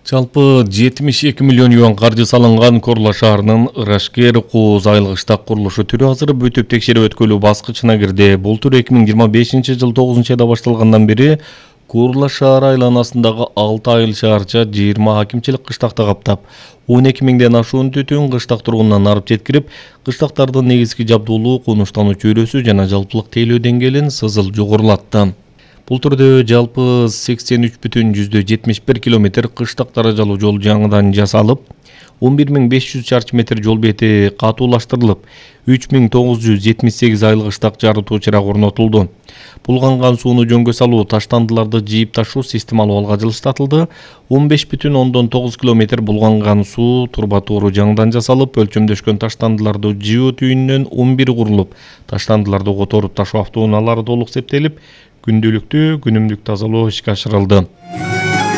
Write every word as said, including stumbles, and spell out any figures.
Жалпы жетимиш эки миллион юан каржы салынган Корла шаарынын Ырашкер Кооз айылык штаб курулушу түрү азыр бүтүп текшерип өткөлүү баскычына кирди. Бул түр эки миң жыйырма бешинчи жыл тогузунчу айда башталгандан бери Корла шаары айланасындагы алты айыл шаарча жыйырма акимчилик кыштакты каптап, он эки миңден ашуун түтүн кыштак тургунунан арып жеткирип, кыштактардын негизги жабдуулуу, конуштануу чөйрөсү жана жалпылык тейлөө деңгээлин сызыл жогорулатты. Бул түрдө жалпы сексен үч бүтүн жүздө жетимиш бир километр кыштак даражалуу жол жаңыдан жасалып, он бир миң беш жүз чарчы метр жол бети катуулаштырылып, үч миң тогуз жүз жетимиш сегиз айыл кыштак жарытуу чырак орнотулду. Булганган сууну жөнгө салуу, таштандыларды жийип ташуу системалуу алга жылыштатылды. он беш бүтүн ондон тогуз километр булганган суу турба тоору жаңыдан жасалып, өлчөмдөшкөн таштандыларды жыуу түйүнүнөн он бир курулуп, таштандыларды которуп ташуу автоунаалары толук септелип, күндүлүктүү күнүмдүк тазалоо ишке ашырылды.